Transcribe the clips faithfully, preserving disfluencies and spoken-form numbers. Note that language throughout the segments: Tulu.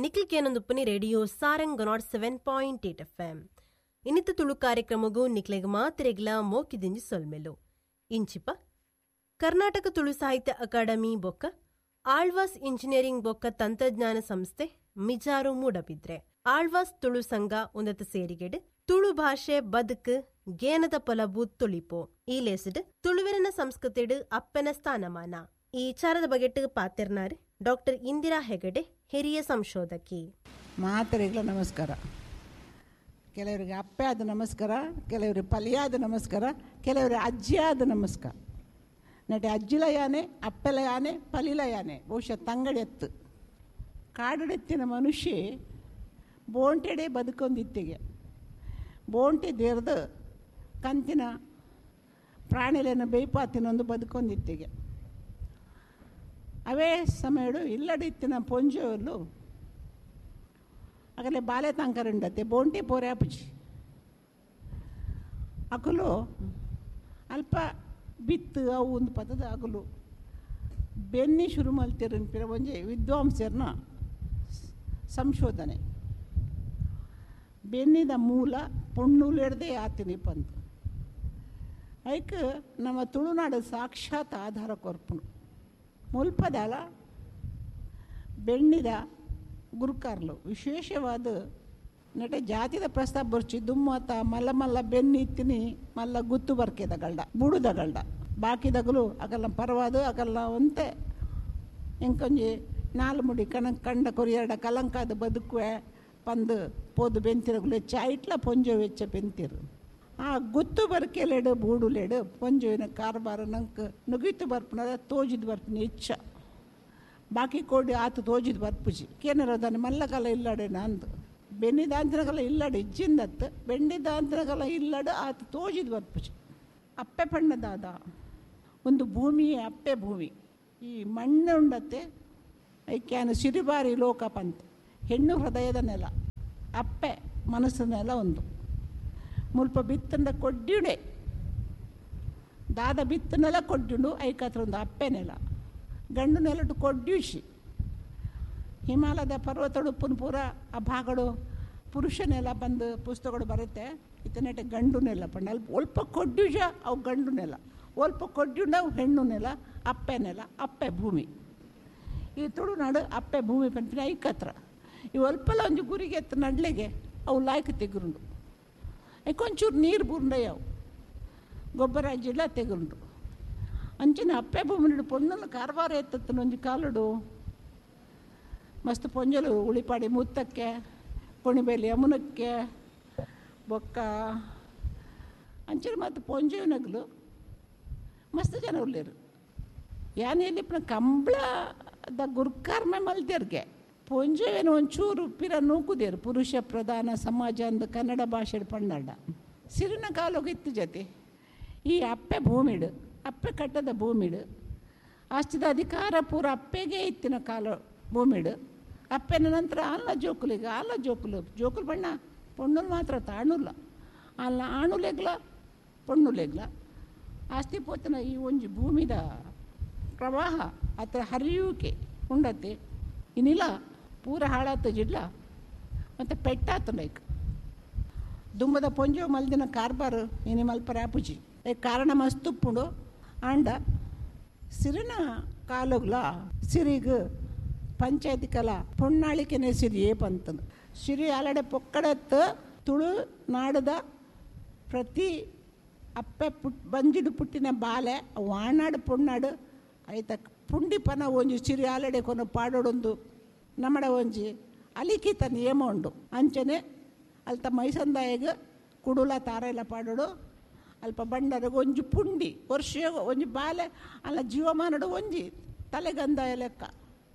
Nikhil ಕೇನೊಂದುಪ್ಪನಿ radio Sarang nought seven point eight F M. ಇನ್ನಿತ Tulu ಕಾರ್ಯಕ್ರಮಗೂ ನಿಕ್ಲೆಗ್ ಮಾತ್ರೆಗ್ಲ ಮೋಕಿದಿಂಜಿ ಸೊಲ್ಮೆಲು. ಇಂಚಿಪ ಕರ್ನಾಟಕ ತುಳು ಸಾಹಿತ್ಯ ಅಕಾಡೆಮಿ ಬೊಕ್ಕ ಆಳ್ವಾಸ್ ಇಂಜಿನಿಯರಿಂಗ್ ಬೊಕ್ಕ ತಂತ್ರಜ್ಞಾನ ಸಂಸ್ಥೆ ಮಿಜಾರು ಮೂಡಬಿದ್ರೆ ಆಳ್ವಾಸ್ ತುಳು ಸಂಘ ಉನ್ನತ ಸೇರಿಗೆಡ್ ತುಳು ಭಾಷೆ ಬದುಕು ಗೇನದ ಪೊಲಬು ತುಳಿಪೋ ಈ ಲೇಸಿಡ್ ತುಳುವೆರನ ಸಂಸ್ಕೃತಿಡ್ ಅಪ್ಪನ ಸ್ಥಾನಮಾನ ಈ ವಿಚಾರದ ಬಗೆಟ್ ಪಾತೆರ್ನಾರ್ ಡಾಕ್ಟರ್ ಇಂದಿರಾ ಹೆಗಡೆ, ಹಿರಿಯ ಸಂಶೋಧಕಿ. ಮಾತರಿಗಳ ನಮಸ್ಕಾರ. ಕೆಲವರಿಗೆ ಅಪ್ಪೆ ಆದ ನಮಸ್ಕಾರ, ಕೆಲವರಿಗೆ ಪಲಿಯಾದ ನಮಸ್ಕಾರ, ಕೆಲವರಿಗೆ ಅಜ್ಜಿಯಾದ ನಮಸ್ಕಾರ. ನಟ ಅಜ್ಜಿಲ ಯಾನೆ, ಅಪ್ಪೆಲ ಯಾನೆ, ಪಲಿಲ ಯಾನೆ, ಬಹುಶಃ ತಂಗಡೆತ್ತು ಕಾಡುಡೆತ್ತಿನ ಮನುಷ್ಯ ಬೋಂಟೆಡೆ ಬದುಕೊಂದಿತ್ತಿಗೆ ಬೋಂಟೆ ದೇರ್ದು ಕಂತಿನ ಪ್ರಾಣಿಲೆನ ಬೇಯ್ಪಾತಿನೊಂದು ಬದುಕೊಂದಿತ್ತಿಗೆ. ಅವೇ ಸಮಯಡು ಇಲ್ಲಡಿತ್ತಿನ ಪೊಂಜೋಲು ಆಗಲೇ ಬಾಲೆ ತಂಕರುಂಡತ್ತೆ ಬೋಂಟೆ ಪೋರೆ ಅಪುಜಿ ಅಕಲು ಅಲ್ಪ ಬಿತ್ತು ಅವು ಒಂದು ಪದದ ಅಗಲು ಬೆನ್ನಿ ಶುರು ಮಲ್ತಿರನ್ಪಿರ ಒಂಜಿ ವಿದ್ವಾಂಸರ್ನ ಸಂಶೋಧನೆ. ಬೆನ್ನಿದ ಮೂಲ ಪೊಣ್ಣುಲೆಡ್ದೇ ಆತಿನಿ ಪಂತು ಐಕ್ ನಮ್ಮ ತುಳುನಾಡು ಸಾಕ್ಷಾತ್ ಆಧಾರ ಕೊರ್ಪುನು. ಮುಲ್ಪದಲ ಬೆಣ್ಣಿದ ಗುರುಕಾರ್ಲು ವಿಶೇಷವಾದ ನಟ ಜಾತಿದ ಪ್ರಸ್ತಾಪ ಬರ್ಚಿ ದುಮ್ಮತ ಮಲ್ಲ ಮಲ್ಲ ಬೆನ್ನಿ ಇತ್ತಿನಿ ಮಲ್ಲ ಗುತ್ತು ಬರ್ಕೆದಗಲ್ಡ ಬುಡುದಗಲ್ಡ ಬಾಕಿದಗಲು ಅಗಲ್ಲ ಪರವಾದು ಅಗಲ್ಲ ಒಂತೆ ಎಂಕೊಂಜಿ ನಾಲು ಮುಡಿ ಕಣ ಕಂಡ ಕೊರಿಯಡ ಕಲಂಕಾದ ಬದುಕುವೆ ಪಂದು ಪೋದು ಬೆಂತಿರಗುಲು ಹೆಚ್ಚ ಐಟ್ಲ ಪೊಂಜೋ ವೆಚ್ಚ ಬೆಂತಿರು. ಆ ಗುತ್ತು ಬರ್ಕೆಲೆಡು ಬೂಡುಲೆಡು ಪೊಂಜೋವಿನ ಕಾರ್ಬಾರ ನಂಗೆ ನುಗಿತು ಬರ್ಪುನದ ತೋಜಿದ್ ಬರ್ಪುನ ಹೆಚ್ಚ ಬಾಕಿ ಕೋಡಿ ಆತ ತೋಜಿದ್ ಬರ್ಪುಜಿ ಕೇನರೋದಾನೆ ಮಲ್ಲಕಲ ಇಲ್ಲಡೆ ನಂದು ಬೆನ್ನಿದಾಂತನಕಲ ಇಲ್ಲಡೆ ಇಜ್ಜಿಂದತ್ತು ಬೆಂಡಿದಾಂತನಕಲ ಇಲ್ಲಡು ಆತ ತೋಜಿದ್ ಬರ್ಪುಜಿ. ಅಪ್ಪೆ ಪಣ್ಣದಾದ ಒಂದು ಭೂಮಿಯೇ ಅಪ್ಪೆ ಭೂಮಿ. ಈ ಮಣ್ಣು ಉಂಡತ್ತೆ ಐಕ್ಯಾನ ಸಿರಿಬಾರಿ ಲೋಕ ಪಂತ ಹೆಣ್ಣು ಹೃದಯದ ನೆಲ ಅಪ್ಪೆ ಮನಸ್ಸಿನ ನೆಲ ಒಂದು ಮುಲ್ಪ ಬಿತ್ತಂದ ಕೊಡ್ಡಿಡೆ ದಾದ ಬಿತ್ತ ನೆಲ ಕೊಡ್ಡಿಂಡು ಐಕತ್ರ ಒಂದು ಅಪ್ಪೆ ನೆಲ ಗಂಡು ನೆಲಟು ಕೊಡ್ಡಿಸಿ ಹಿಮಾಲಯದ ಪರ್ವತಡು ಪೂರ ಆ ಭಾಗಡು ಪುರುಷ ನೆಲ ಬಂದು ಪುಸ್ತಕಗಳು ಬರುತ್ತೆ ಇತನೆಟ ಗಂಡು ನೆಲ ಪಂಡ ಅಲ್ಪ ಒಲ್ಪ ಕೊಡ್ಡಿಜ ಅವು ಗಂಡು ನೆಲ ಒಲ್ಪ ಕೊಡ್ಡಿಂಡ ಅವು ಹೆಣ್ಣು ನೆಲ ಅಪ್ಪೆ ನೆಲ ಅಪ್ಪೆ ಭೂಮಿ. ಈ ತುಳುನಾಡು ಅಪ್ಪೆ ಭೂಮಿ ಪಂಪಿನ ಐಕತ್ರ ಈ ಒಲ್ಪಲ ಒಂಜಿ ಗುರಿಗೆ ಎತ್ತ ನಡ್ಲೆಗೆ ಅವು ಲಾಯ್ಕ್ ತೆಗುರುಂಡು ಕೊಂಚೂರು ನೀರು ಬೂರ್ಂಡಯ್ಯವು ಗೊಬ್ಬರ ಜಿಲ್ಲ ತೆಗುಂಡು ಅಂಚಿನ ಅಪ್ಪೆ ಭೂಮಿಡು ಪೊಣ್ಣಲು ಕಾರ್ಬಾರ ಎತ್ತತ್ತನ ಒಂಜಿ ಕಾಲುಡು ಮಸ್ತ್ ಪೊಂಜಲು ಉಳಿಪಾಡಿ ಮುತ್ತಕ್ಕೆ ಕೊಣಿಬೇಲಿ ಯಮುನಕ್ಕೆ ಬೊಕ್ಕ ಅಂಚಿನ ಮತ್ತು ಪೊಂಜೆನಗಲು ಮಸ್ತ್ ಜನ ಉಳ್ಳೇರು ಯಾನೆಯಲ್ಲಿ ಕಂಬಳದ ಗುರ್ಕಾರ್ಮೆ ಮಲ್ದೇರ್ಗೆ ಪೊಂಜೆವೇನು ಒಂಚೂರು ಪಿರ ನೂಕುದೇರು ಪುರುಷ ಪ್ರಧಾನ ಸಮಾಜ ಅಂದು ಕನ್ನಡ ಭಾಷೆ ಪಂಡಾಡ ಸಿರಿನ ಕಾಲೋಗಿತ್ತು ಜೊತೆ ಈ ಅಪ್ಪೆ ಭೂಮಿಡು ಅಪ್ಪೆ ಕಟ್ಟದ ಭೂಮಿಡು ಆಸ್ತಿದ ಅಧಿಕಾರ ಪೂರ ಅಪ್ಪೆಗೆ ಇತ್ತಿನ ಕಾಲ ಭೂಮಿಡು ಅಪ್ಪೆನ ನಂತರ ಅಲ್ಲ ಜೋಕುಲಿಗೆ ಅಲ್ಲ ಜೋಕುಲು ಜೋಕುಲು ಬಣ್ಣ ಪೊಣ್ಣುಲು ಮಾತ್ರ ತಾಣುಲ್ಲ ಅಲ್ಲ ಆಣುಲೆಗ್ಲ ಪೊಣ್ಣುಲೆಗ್ಲ ಆಸ್ತಿ ಪೋತನ ಈ ಒಂಜಿ ಭೂಮಿದ ಪ್ರವಾಹ ಅತ್ರ ಹರಿಯುವಿಕೆ ಉಂಡತ್ತೆ ಇನ್ನಿಲ್ಲ ಪೂರ ಹಾಳಾತು ಜಿಡ್ಲ ಮತ್ತು ಪೆಟ್ಟಾತು ಲೈಕ್ ದುಂಬದ ಪೊಂಜೋ ಮಲ್ದಿನ ಕಾರ್ಬಾರು ಇನಿ ಮಲ್ಪರ ಆಪುಜಿ ಕಾರಣ ಮಸ್ತುಪ್ಪುಂಡು ಆಂಡ ಸಿರಿನ ಕಾಲುಗ್ಲ ಸಿರಿಗ್ ಪಂಚಾಯತಿ ಕಲ ಪೊಣ್ಣಾಳಿಕೆನೆ ಸಿರಿ ಏಪಂತಂದು ಸಿರಿ ಆಲಡೆ ಪೊಕ್ಕಡತ್ತು ತುಳು ನಾಡದ ಪ್ರತಿ ಅಪ್ಪೆ ಪುಟ್ ಬಂಜಿಡು ಪುಟ್ಟಿನ ಬಾಲೆ ವಾಣಾಡು ಪೊಣ್ಣಾಡು ಐತ ಪುಂಡಿಪನ ಒಂಜಿ ಸಿರಿ ಆಲಡೆ ಕೊನ ಪಾಡೋಡೊಂದು ನಮ್ಮಡ ಒಂಜಿ ಅಲಿಖಿತ ನಿಯಮ ಉಂಡು ಅಂಚನೆ ಅಲ್ತ ಮೈಸಂದಾಯಗ ಕುಡುಲ ತಾರೆಲ್ಲ ಪಾಡೋಡು ಅಲ್ಪ ಬಂಡರಗ ಒಂಜಿ ಪುಂಡಿ ವರ್ಷ ಒಂಜಿ ಬಾಲೆ ಅಲ್ಲ ಜೀವಮಾನಡು ಒಂಜಿ ತಲೆಗಂದಾಯ ಲೆಕ್ಕ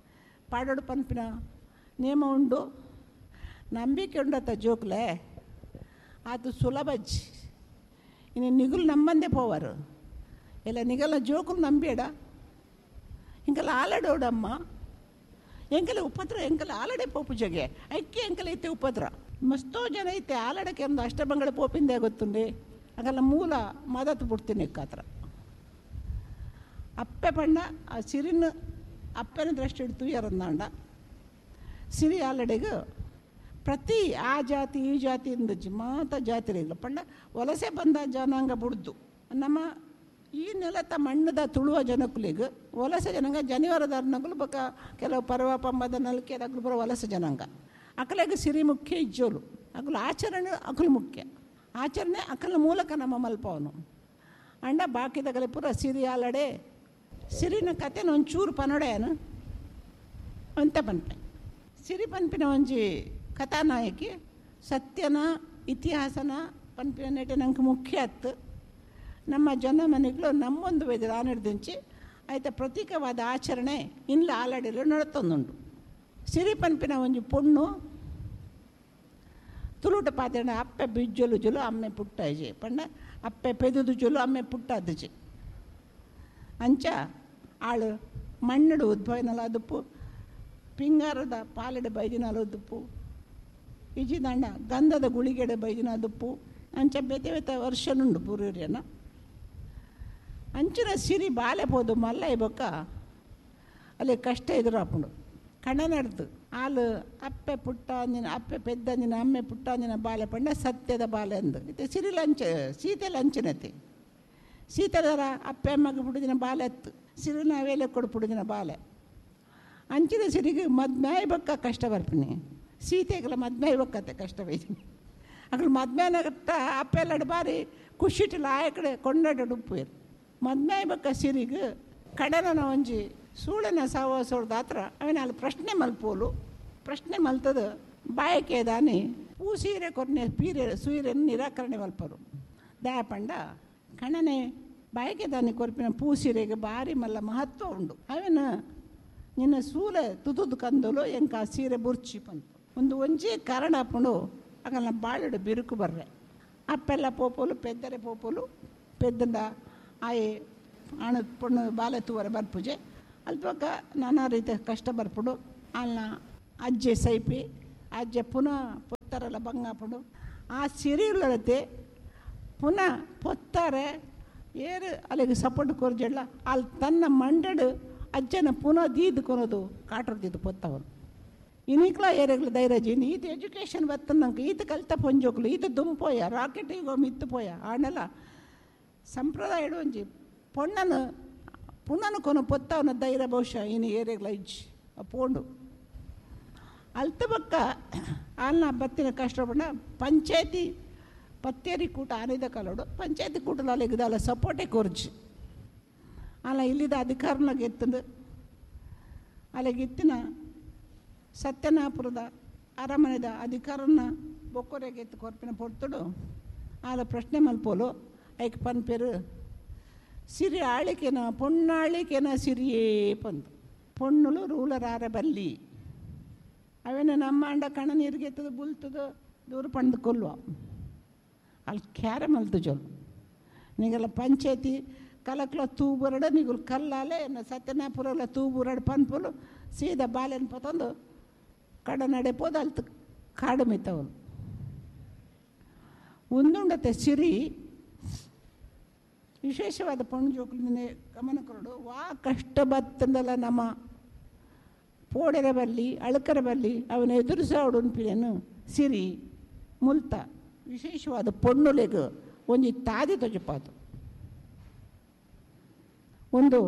ಪಾಡೋಡು ಪನ್ಪಿನ ನಿಯಮ ಉಂಡು. ನಂಬಿಕೆ ಉಂಡತ್ತ ಜೋಕ್ಲೆ ಆತು ಸುಲಭಜ್ಜಿ ಇನ್ನು ನಿಗುಲು ನಮ್ಮಂದೇ ಪೋವರು ಇಲ್ಲ ನಿಗಲ ಜೋಕುಲು ನಂಬೇಡ ಇಂಕಲ ಆಲಡೋಡಮ್ಮ ಎಂಕಲೆ ಉಪದ್ರ ಎಂಕಲ ಆಲಡೆ ಪೋಪು ಜಗೆ ಐಕ್ಕೆ ಎಂಕಲ ಐತೆ ಉಪದ್ರ ಮಸ್ತೋ ಜನ ಐತೆ ಆಲಡಕ್ಕೆ ಒಂದು ಅಷ್ಟಬಂಗಳ ಪೋಪಿಂದೆ ಗೊತ್ತುಂಡೆ ಆಗಲ್ಲ ಮೂಲ ಮದತ್ತು ಬಿಡ್ತೀನಿ ಕಾತ್ರ ಅಪ್ಪೆ ಪಣ್ಣ ಆ ಸಿರಿನ ಅಪ್ಪನ ದೃಷ್ಟಿ ಹಿಡ್ತು ಎರಂದಾಂಡ ಸಿರಿ ಆಲಡೆಗೆ ಪ್ರತಿ ಆ ಜಾತಿ ಈ ಜಾತಿ ಇಂದಜ್ಜಿ ಮಾತ ಜಾತಿರಿಲ್ಲ ಪಂಡ ವಲಸೆ ಬಂದ ಜನಾಂಗ ಬುಡ್ದು ನಮ್ಮ ಈ ನೆಲತ ಮಣ್ಣದ ತುಳುವ ಜನಕ್ಕುಲಿಗೆ ವಲಸೆ ಜನಾಂಗ ಜನಿವಾರದಾರನಗುಲು ಬಕ ಕೆಲವು ಪರ್ವ ಪಂಬದ ನಲ್ಕೆದಾಗಲು ಬರೋ ವಲಸೆ ಜನಾಂಗ ಅಕಲೆಗೆ ಸಿರಿ ಮುಖ್ಯ ಇಜ್ಜೋಲು ಅಕಲು ಆಚರಣೆ ಅಕಲು ಮುಖ್ಯ ಆಚರಣೆ ಅಕಲ ಮೂಲಕ ನಮ್ಮ ಮಲ್ಪವನು ಅಂಡ ಬಾಕಿದಗಲೆ ಪೂರ ಸಿರಿ ಆಲಡೆ ಸಿರಿನ ಕತೆನ ಒಂಚೂರು ಪನೊಡೆಯನು ಅಂತ ಪನ್ಪೆ ಸಿರಿ ಪನ್ಪಿನ ಒಂಜಿ ಕಥಾನಾಯಕಿ ಸತ್ಯನ ಇತಿಹಾಸನ ಪನ್ಪಿನ ನೆಟೆ ನಂಗೆ ಮುಖ್ಯ ಅತ್ತು ನಮ್ಮ ಜನ ಮನೆಗಳು ನಮ್ಮೊಂದು ವೇದ ಆನಿಡ್ದಿಂಚಿ ಆಯ್ತ ಪ್ರತೀಕವಾದ ಆಚರಣೆ ಇನ್ಲ ಆಲಡೆಲು ನಡತೊಂದುಂಡು. ಸಿರಿ ಪನ್ಪಿನ ಒಂಜಿ ಪೊಣ್ಣು ತುಳುಟ ಪಾತ್ರೆ ಅಪ್ಪೆ ಬಿಜ್ಜೊಲು ಜೊಲು ಅಮ್ಮೆ ಪುಟ್ಟಾಜೆ ಪಂಡ ಅಪ್ಪೆ ಪೆದುದು ಜೊಲು ಅಮ್ಮೆ ಪುಟ್ಟಾದಜೆ ಅಂಚ ಆಳು ಮಣ್ಣಡು ಉದ್ಭವನಲ ಅದುಪ್ಪು ಪಿಂಗಾರದ ಪಾಲೆಡು ಬೈದಿನಲ ಉದುಪ್ಪು ಇಜಿದಂಡ ಗಂಧದ ಗುಳಿಗೆಡೆ ಬೈದಿನ ಅದುಪ್ಪು ಅಂಚ ಬೇತೆ ಬೇತೆ ವರ್ಷನುಂಡು ಪೂರ್ಯನ ಅಂಚಿನ ಸಿರಿ ಬಾಲೆ ಪೋದು ಮಲ್ಲ ಬೊಕ್ಕ ಅಲ್ಲಿ ಕಷ್ಟ ಎದುರಾಪುಂಡು ಕಣ ನಡೆದು ಆಲು ಅಪ್ಪೆ ಪುಟ್ಟ ಅಂಜಿನ ಅಪ್ಪೆ ಪೆದ್ದಂಜಿನ ಅಮ್ಮೆ ಪುಟ್ಟ ಅಂಜಿನ ಬಾಲೆ ಪಂಡ ಸತ್ಯದ ಬಾಲೆ ಅಂದು ಇತ್ತೆ ಸಿರಿ ಲಂಚ ಸೀತೆ ಲಂಚನತೆ ಸೀತೆದರ ಅಪ್ಪೆ ಅಮ್ಮಗೆ ಪುಡುದಿನ ಬಾಲೆ ಅತ್ತು ಸಿರಿನ ವೇಲೆ ಕೊಡು ಪುಡುದಿನ ಬಾಲೆ ಅಂಚಿನ ಸಿರಿಗೆ ಮದ್ಮ್ಯಾಯ್ ಬಕ್ಕ ಕಷ್ಟ ಬರ್ಪಿನಿ ಸೀತೆಗೆಲ್ಲ ಮದ್ಮ್ಯಾಯ್ ಬಕ್ಕತ್ತೆ ಕಷ್ಟ ಬೈದಿನಿ ಅక్కడ ಮದ್ಮ್ಯಾನಗಟ್ಟ ಅಪ್ಪೆಲ್ಲಡು ಬಾರಿ ಖುಷಿಟಿಲ್ಲ ಆಯ ಕಡೆ ಕೊಂಡಾಡ ಉಪ್ಪು ಮದ್ಮ್ಯಾಯ್ ಬಕ್ಕ ಸಿರಿಗೆ ಕಡನ ಒಂಜಿ ಸೂಳನ ಸಾವಸೋಡ್ದ ಹತ್ರ ಅವನ ಅಲ್ಲಿ ಪ್ರಶ್ನೆ ಮಲ್ಪೋಲು ಪ್ರಶ್ನೆ ಮಲ್ತದ ಬಾಯಕೆ ದಾನಿ ಪೂ ಸೀರೆ ಕೊರ್ನೆ ಪೀರೆ ಸೂರೆಯನ್ನು ನಿರಾಕರಣೆ ಮಲ್ಪರು ದಯಾಪಂಡ ಕಣನೆ ಬಾಯಕೆ ದಾನಿ ಕೊರ್ಪಿನ ಪೂ ಸೀರೆಗೆ ಭಾರಿ ಮಲ್ಲ ಮಹತ್ವ ಉಂಡು ಅವನ ನಿನ್ನ ಸೂಲೆ ತುತುದು ಕಂದಲು ಎಂಕ ಆ ಸೀರೆ ಬುರ್ಚಿ ಬಂತು ಒಂದು ಒಂಜೇ ಕಾರಣ ಅಪ್ಪಂಡು ಆಗಲ್ಲ ಬಾಳೆಡು ಬಿರುಕು ಬರ್ರೆ ಅಪ್ಪೆಲ್ಲ ಪೋಪೋಲು ಪೆದ್ದರೆ ಪೋಪೋಲು ಪೆದ್ದಂಡ ಆಯೆ ಅಣ ಪೊಣ್ಣು ಬಾಲೆ ತೂವರೆ ಬರ್ಪುಜೆ ಅಲ್ಪಕ್ಕ ನಾನಾ ರೀತಿಯ ಕಷ್ಟ ಬರ್ಪುಡು ಅಲ್ಲ ಅಜ್ಜೆ ಸೈಪಿ ಅಜ್ಜೆ ಪುನಃ ಪೊತ್ತರೆಲ್ಲ ಬಂಗಾಪುಡು ಆ ಸಿರಿಯುಳ್ಳತೆ ಪುನಃ ಪೊತ್ತಾರೆ ಏರು ಅಲ್ಲಿಗೆ ಸಪೋರ್ಟ್ ಕೊರ್ಜೆಲ್ಲ ಅಲ್ಲಿ ತನ್ನ ಮಂಡಡು ಅಜ್ಜನ ಪುನಃ ದೀದ್ ಕೊನೋದು ಕಾಟರ್ದಿದ್ದು ಪೊತ್ತವನು ಇನಿಕ್ಲ ಏರೆಗ್ಲ ಧೈರ್ಯ ಈತ ಎಜುಕೇಷನ್ ಬತ್ತನಂಗೆ ಈತ ಕಲ್ತ ಪೊಂಜೋಕ್ಲು ಈತ ದುಂಪೋಯ ರಾಕೆಟ್ ಈಗ ಮಿತ್ತು ಪೋಯ ಆಣೆಲ್ಲ ಸಂಪ್ರದಾಯ ಒಂಜಿ ಪೊಣ್ಣನು ಪುಣ್ಣನು ಕೊನು ಪೊತ್ತವನ ಧೈರ್ಯ ಬಹುಶಃ ಇನ್ನು ಏರೆಗ್ಲ ಇಜ್ಜಿ ಪೋಂಡು ಅಲ್ತ ಬಕ್ಕ ಅಲ್ಲ ಬತ್ತಿನ ಕಷ್ಟ ಪಂಡ ಪಂಚಾಯತಿ ಪತ್ತೇರಿ ಕೂಟ ಆನಿದ ಕಲೋಡು ಪಂಚಾಯತಿ ಕೂಟಲ ಅಲ್ಲಿಗದಲ್ಲ ಸಪೋರ್ಟೇ ಕೊರ್ಜಿ ಅಲ್ಲ ಇಲ್ಲಿದ ಅಧಿಕಾರನಾಗ ಎತ್ತಂದು ಅಲ್ಲಿಗೆ ಎತ್ತಿನ ಸತ್ಯನಾಪುರದ ಅರಮನೆದ ಅಧಿಕಾರನ ಬೊಕ್ಕೊರೆಗೆ ಎತ್ತು ಕೊರ್ಪಿನ ಪೊರ್ತುಡು ಆಲ ಪ್ರಶ್ನೆ ಮಲ್ಪೋಲು ಐಕ್ ಪನ್ಪೇರು ಸಿರಿ ಆಳಿಕೆನ ಪೊಣ್ಣಾಳಿಕೆನ ಸಿರಿಯೇ ಪಂದು ಪೊಣ್ಣುಲು ರೂಲರ್ ಆರ ಬಲ್ಲಿ ಅವೇನ ನಮ್ಮ ಅಂಡ ಕಣ ನೀರಿಗೆ ಬುಲ್ತದ ದೂರ ಪಂದು ಕೊಲ್ಲುವ ಅಲ್ಲಿ ಕ್ಯಾರೆ ಮಲ್ತು ಜೋಲು ನೀಗೆಲ್ಲ ಪಂಚಾಯತಿ ಕಲಕ್ಲ ತೂಬುರಡ ನೀಗುಲ್ ಕಲ್ಲಾಲೆ ಸತ್ಯನಾಪುರಲ್ಲ ತೂಬುರಡ ಪನ್ಪುಲು ಸೀದಾ ಬಾಲೆನ್ ಪತಂದು ಕಡ ನಡೆ ಪೋದ ಅಲ್ತು ಕಾಡು ಮಿತ್ತವನು ಒಂದುಂಡತೆ ಸಿರಿ ವಿಶೇಷವಾದ ಪೊಣ್ಣು ಜೋಕುಲಿಂದನೇ ಗಮನ ಕೊರಡು ವಾ ಕಷ್ಟ ಬತ್ತಂದಲ್ಲ ನಮ್ಮ ಪೋಡೆರ ಬಲ್ಲಿ ಅಳಕರ ಬಲ್ಲಿ ಅವನ ಎದುರಿಸೋಡು ಉನ್ಪಿನೇನು ಸಿರಿ ಮುಲ್ತ ವಿಶೇಷವಾದ ಪೊಣ್ಣುಲೆಗು ಒಂಜಿ ತಾದಿ ತೊಜಪಾತು ಒಂದು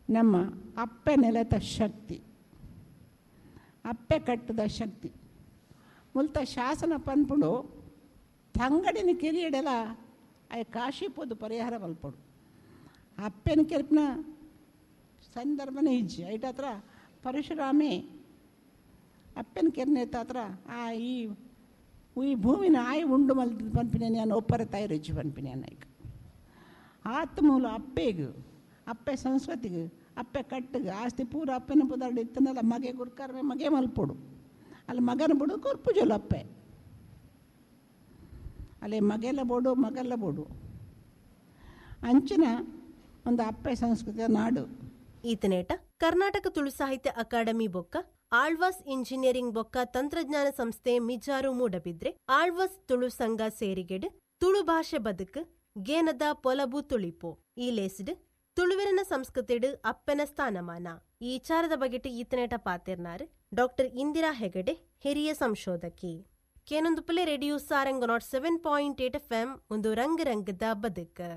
ನಮ್ಮ ಅಪ್ಪೆ ನೆಲತ ಶಕ್ತಿ ಅಪ್ಪೆ ಕಟ್ಟದ ಶಕ್ತಿ ಮುಲ್ತ ಶಾಸನ ಪನ್ಪುಂಡು ತಂಗಡಿನ ಕಿರಿಯಡೆಲ ಆಯ ಕಾಶಿಪೋದು ಪರಿಹಾರ ಮಲ್ಪಡು ಅಪ್ಪೆನ ಕೆರ್ಪಿನ ಸಂದರ್ಭನೇ ಇಜ್ಜಿ ಐಟ ಹತ್ರ ಪರಶುರಾಮೆ ಅಪ್ಪನ ಕೆರ್ನೆ ಹತ್ರ ಆ ಈ ಈ ಭೂಮಿನ ಆಯಿ ಉಂಡು ಮಲ್ ಪನ್ಪಿನ ನಾನು ಒಪ್ಪರ ತಾಯಿ ಪನ್ಪಿನ ಈಗ ಆತ ಮೂಲ ಅಪ್ಪೆಗು ಅಪ್ಪೆ ಸಂಸ್ಕೃತಿಗೆ ಅಪ್ಪೆ ಕಟ್ಟಿಗೆ ಆಸ್ತಿ ಪೂರ ಅಪ್ಪೆನ ಪುದಾರ್ಡು ಇತ್ತನಲ್ಲ ಮಗೆ ಗುರ್ಕರ್ಮೆ ಮಗೆ ಮಲ್ಪೊಡು ಅಲ್ಲಿ ಮಗನ ಬುಡು ಕೊರ್ಪುಜೋಲು ಅಪ್ಪೆ ಅಲ್ಲಿ ಮಗೆಲ್ಲ ಬೋಡು ಮಗೆಲ್ಲ ಬೋಡು ಅಂಚಿನ ಒಂದು ಅಪ್ಪೆ ಸಂಸ್ಕೃತಿಯ ನಾಡು. ಈತನೇಟ ಕರ್ನಾಟಕ ತುಳು ಸಾಹಿತ್ಯ ಅಕಾಡೆಮಿ ಬೊಕ್ಕ ಆಳ್ವಾಸ್ ಇಂಜಿನಿಯರಿಂಗ್ ಬೊಕ್ಕ ತಂತ್ರಜ್ಞಾನ ಸಂಸ್ಥೆ ಮಿಜಾರು ಮೂಡಬಿದ್ರೆ ಆಳ್ವಾಸ್ ತುಳು ಸಂಘ ಸೇರಿಗೆಡ್ ತುಳು ಭಾಷೆ ಬದುಕು ಗೇನದ ಪೊಲಬು ತುಳಿಪು ಈ ಲೇಸಿಡ್ ತುಳುವೆರನ ಸಂಸ್ಕೃತಿಡು ಅಪ್ಪೆನ ಸ್ಥಾನಮಾನ ಈ ವಿಚಾರದ ಬಗೆಟ್ ಈತನೇಟ ಪಾತಿರ್ನಾರ್ ಡಾಕ್ಟರ್ ಇಂದಿರಾ ಹೆಗಡೆ ಹಿರಿಯ ಸಂಶೋಧಕಿ. ಕೇನೊಂದು Phule radio Sarang nought seven point eight F M ಒಂದು ರಂಗ ರಂಗದ ಬದುಕು.